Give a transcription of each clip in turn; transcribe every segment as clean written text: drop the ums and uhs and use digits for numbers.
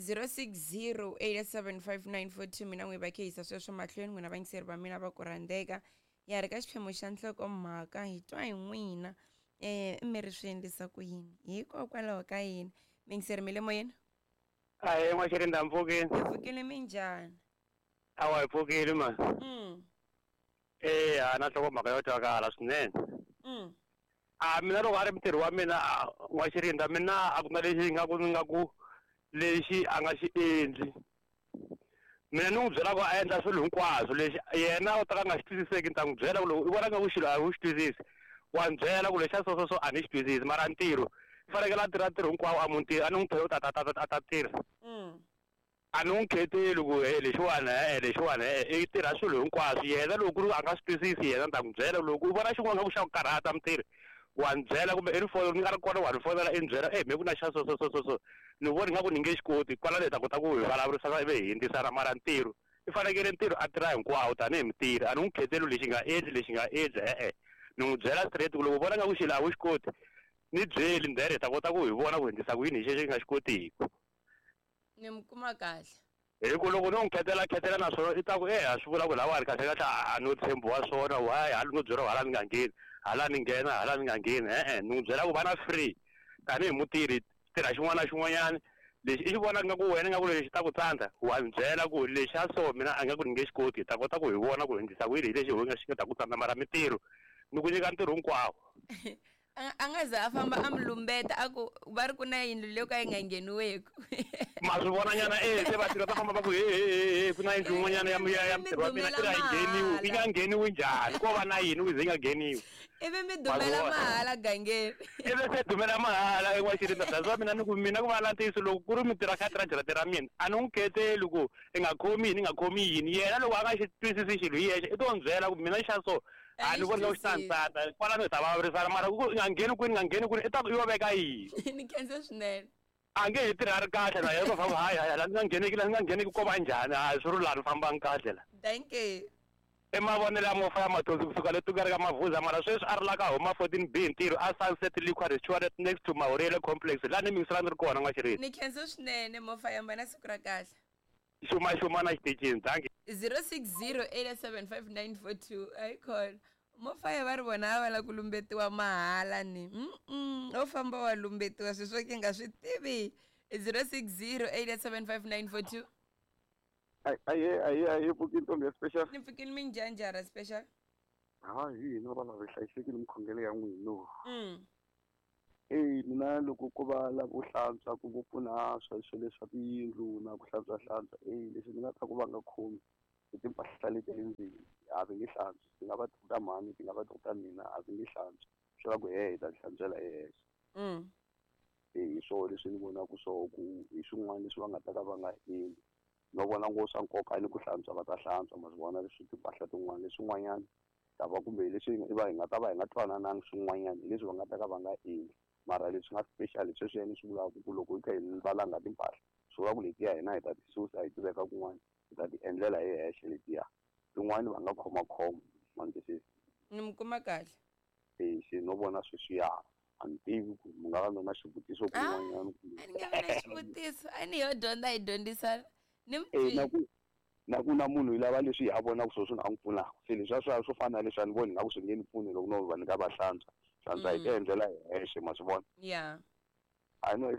060875942 mina n'wi va khehisa sweswo mahlweni n'wina vayingiseri va mina va ku rhandzeka ya ri ka xiphemu xa nhlokomhaka hi twa hi n'wina um mi ri swi endlisa ku yini hikokwalaho ka yini miyingiseri mi le moyeni? Ahee, n'waxirinda, mpfukini? Hi pfukile, minjhani? Awa, hi pfukile ma. Eya, na nhlokomhaka yo twakala swinene. A mina loko a ri mutirhi wa mina n'waxirinda, mina a ku na lexi nga ku ni nga ku lexi a nga xi endli. Mina ni n'wi byela ku a endla swilo hinkwaswo, lexi yena u ta ka a nga xi twisiseki ni ta n'wi byela ku loko i vona nga ku xilo a wu xi twisisi, wa ni byela ku lexa so so so a ni xi twisisi, mara ntirho i fanekele a tirha ntirho hinkwawo a mutini, a ni n'wi thole ku ta ta ta a ta tirha. A ni n'wi kheteli ku he lexiwani e-e, lexiwani e-e, i tirha swilo hinkwaswo. Yena loko ku ri a nga swi twisisi yena ni ta n'wi byela, loko u vona xin'wana nga ku xa ku karhata mutirhi wa ni byela, kumbe i ni fonela ni nga ri kona wa ni fonela i ni byela, e me ku na xa so so so so so ni vona ingaku ni nge xi koti, kwalano hi ta kota ku hi vulavurisana ivi hi hundzisana. Mara ntirho i fanekele ntirho a tirha hinkwawo tanihi mutirhi, a ni n'wi kheteli lexi nga endli lexi nga endli e-e, ni n'wi byela straight ku loko u vona nga ku xilo a wu xi koti ni byeli, then hi ta kota ku hi vona ku hi endlisa ku yini hi xexo i nga xi kotiki. Ni mi kuma kahle. Hi ku loko no n'wi khetela khetela na swona i ta ku e a swi vula ku lawani kahle kahle a no tshembiwa swona, why hala no byeriwa hala ni nga ngheni, hala ni nghena hala ni nga ngheni, e-e ni n'wi byela ku va na free tanihi mutirhi, tirha xin'wana na xin'wanyana lexi i xi vonaka nga ku wena nga ku lexi ta ku tsandza, wa ni byela ku lexa so mina a nga ku ni nge xi koti, hi ta kota ku hi vona ku hi endlisa ku yini hi lexi hi nga xi nga ta ku tsandza, mara mintirho ni ku nyika ntirho hinkwawo. A nga za a famba a mi lumbeta a ku va ri ku na yindlu leyo ka yi nga ngheniweku. Ma swi vona nyana e se vatirhi va ta famba va ku he he he he ku na yindlu yin'wanyana ya ya mi mutirhi wa mina dumela i ri a yi ngheniwi, yi nga mahala ngheniwi njhani, ko va na yini ku ze yi nga ngheniwi? Ivi mi Ma swi dumela vona? Mahala gangeni. Ivi se dumela mahala en'waxirinda. That's why mina ni ku mina ku va na ntiyiso loko ku ri mutirhi a kha a tirha jarata ra mina a ni n'wi kheteli ku i nga khomi yini i nga khomi yini, yena loko a nga xi twisisi xilo hi yexe i to ni byela ku mina xa so A a ni ni xi voni nga ku xi ta ni twisisi. tsandza, kwalano hi ta vulavurisana, mara ku i nga ngheni kwini i nga ngheni kwini i ta ku i yo veka yini. Ni khensa swinene. A nge he tirhi a ri kahle na yena, u ta famba hayi hayi la ni nga ngheneki la ni nga ngheneki ko va njhani, hayi swi ri laha ni fambangi kahle la. Dankie. I mavonelo ya Mofa ya Mathonsi kusuka le Tuka ka Mavuza, mara sweswi a ri la ka Homa 14B hi ntirho a Sunset Liquor Restaurant next to Mahoriyele Complex laha ni mingisela ni ri kona n'waxirinda. Ni khensa swinene Mofa ya na siku ra kahle. Xuma xuma na xitichini, dankie. 0608755942 ayikhona Mofaya va ri vona a va la ku lumbetiwa mahala ni mm o famba wa lumbetiwa sweswo ke nga swi tivi. 0608755942. Aye aye aye, pfuki ntombi ya special. Ni pfukini, minjanjara special? Ha hi hina vana hi hlayisekile mikhongelo ya n'wina. Eyi, mina loko ko va lavo hlantswa ku vo pfuna sweswo leswa tiyindlu na ku hlantswa hlantswa, eyi leswi ni nga ta ku va nga khomi i timpahla leti le ndzeni, a va nge hlantswi, ti nga va ti ta mhani, ti nga va ti ta mina, a va nge hlantswi, swi la ku he hi ta ti hlantswela hi hexe. E hi swoho leswi ni vonaka swoho ku hi swin'wana leswi va nga ta ka va nga endli, no vona ngo swa nkoka ni ku hlantswa va ta hlantswa, ma swi vona leswi timpahla tin'wana leswin'wanyana ta va kumbe hi leswi hi va hi nga ta va hi nga twanananga swin'wanyana hi leswi va nga ta ka va nga endli, mara leswi nga special hi sweswiya ni swi vulaka ku loko hi kha hi valanga timpahla swi vula ku letiya hina hi ta ti susa hi ti veka kun'wana, hi ta ti endlela hi hexe, letiya tin'wani va nga khomakhoma, ma ni twisisa? Ni mi kuma kahle. E se no vona sweswiya a ni tivi ku mi nga va mi na xivutiso kun'wanyana kumbe. A ni nga vi na xivutiso, a ni yo dyondza hi dyondzisana ni E na ku na munhu i lava leswi a vonaka swona swi nga n'wi pfunaka, se leswiya swa swo fana na leswi a ni voni nga ku swi nge ni pfuni loko no va ni ka va hlantswa hlantswa hi ti endlela hi hexe, ma swi vona? Ya. A no ri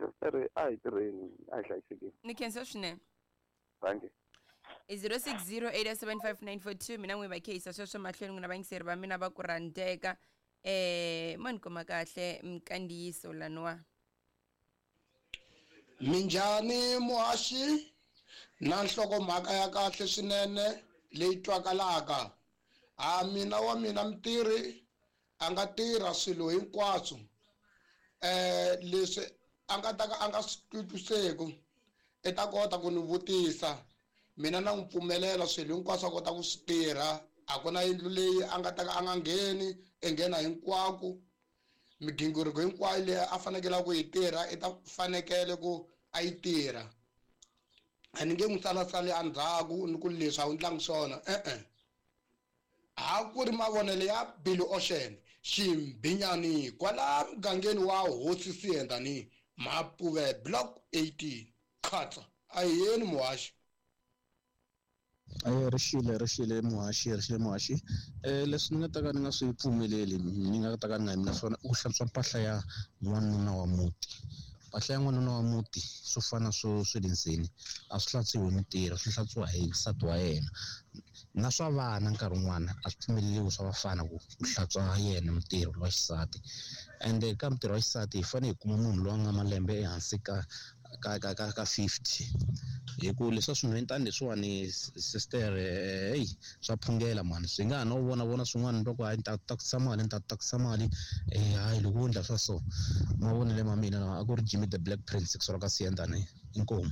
a hi tirheni, a hi hlayisekeni. Ni khensa swinene. Thank you. I 0608755942 mina n'wi va khehisa sweswo mahlweni n'wina vayingiseri va mina va ku rhandzeka mo ni kuma kahle minkandziyiso laniwa. Minjhani muhaxi na nhlokomhaka ya kahle swinene leyi twakalaka. Ha mina wa mina mutirhi a nga tirha swilo hinkwaswo leswi a nga ta ka a nga swi twisisiku i ta kota ku ni vutisa, mina na n'wi pfumelela swilo hinkwaswo a kota ku swi tirha, a ku na yindlu leyi a nga ta ka a nga ngheni, i nghena hinkwako, migingiriko hinkwayo leyi a fanekele ku yi tirha i ta fanekele ku a yi tirha, a ni nge n'wi salasali endzhaku ni ku leswi a wu ndlangi swona e-e. Ha ku ri mavonelo ya Billy Ocean Ximbinyani kwala mugangeni wa Hosi Siyendani Mapuve Block 18 Khatsa. A hi yeni muhaxi. Rixile muhaxi, rixile muhaxi. Leswi ni nga ta ka ni nga swi pfumeleli, ni nga ta ka ni nga yimi na swona, i ku hlantswa mpahla ya n'wanuna wa muti. Mpahla ya n'wanuna wa muti swo fana swo swe le ndzeni a swi hlantswiwi hi mutirhi, swi hlantswiwa hi nsati wa yena. Na swa vana nkarhi wun'wana a swi pfumeleriwi swa vafana ku hlantswa yena mutirhi wa xisati. Ende ka mutirhi wa xisati hi fanele hi kuma munhu loyi a nga malembe ehansi ka ka ka ka ka 50, hi ku leswa swinhwentani leswiwani sister, hey, swa phungela mani, swi nga ha no vona vona swin'wana loko hayi ni ta tatisa mali, ni ta tatisa mali, hayi loko wo endla swa so. Mavonelo ma mina lawa a ku ri Jimmy the Black Prince kusuka ka Siyandhani, inkomu.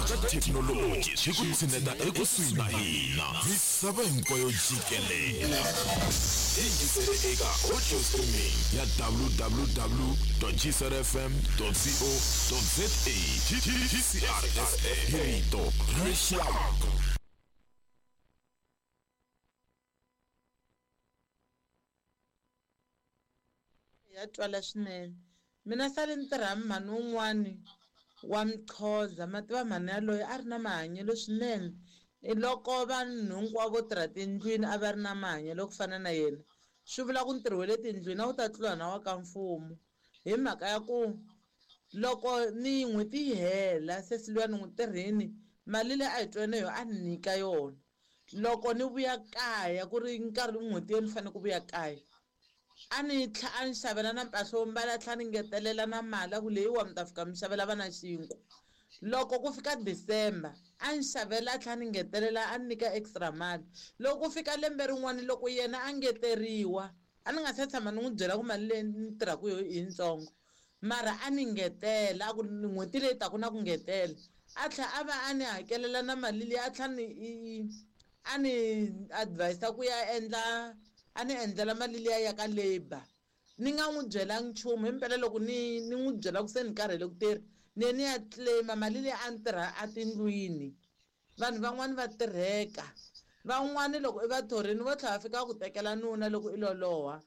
Ka thekinoloji swi ku tshineta ekusuhi na hina misava hinkwayo jikelele. Yingisele eka audio streaming ya www.gcrfm.co.za. GCRSA hi rito ra rixaka. Ya twala swinene. Mina sale ni tirha mhani wun'wani wa Mxhosa, ma tiva mhani yaloye a ri na mahanyelo swinene. Loko vanhu hinkwavo vo tirha tindlwini a va ri na mahanyelo ku fana na yena, swi vula ku ntirho wa le tindlwini a wu ta tlula na wa ka mfumo. Hi mhaka ya ku loko ni n'hweti yi hela sesi luya ni n'wi tirhini, mali leyi a hi twene yo a ni nyika yona. Loko ni vuya kaya ku ri nkarhi n'hweti yo ni fanele ku vuya kaya, a ni tlha a ni xavela na mpahla yo mbala, a tlhela ni ngetelela na mali a ku leyiwa mi ta fika mi xavela vana xinkwa. Loko ku fika December a ni xavela, a tlhela ni ngetelela, a ni nyika extra mali. Loko ku fika lembe rin'wana loko yena a ngeteriwa, a ni nga se tshama ni n'wi byela ku mali leyi ni tirhaka yo i yitsongo, mara a ni ngetela a ku n'hweti leyi taka na ku ngetela, a tlhela a va a ni hakelela na mali leyi, a tlhela ni a ni advise ku ya endla, a ni endlela mali liya ya ka labor. Ni nga n'wi byelangi nchumu, himpela loko ni n'wi byela ku se ni karhele ku tirha, ni ye ni ya claim-a mali leyi a ni tirha etindlwini. Vanhu van'wani va tirheka, van'wani loko i va thorini vo tlhela va fika ku tekela nuna loko i loloha.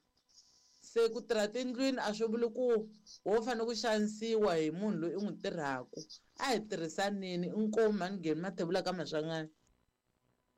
Se ku tirha tindlwini a swi vuli ku wo fanele ku xanisiwa hi munhu loyi i n'wi tirhaka. A hi tirhisaneni, inkomu mhani Geni Mathebula ka Maswanganyi.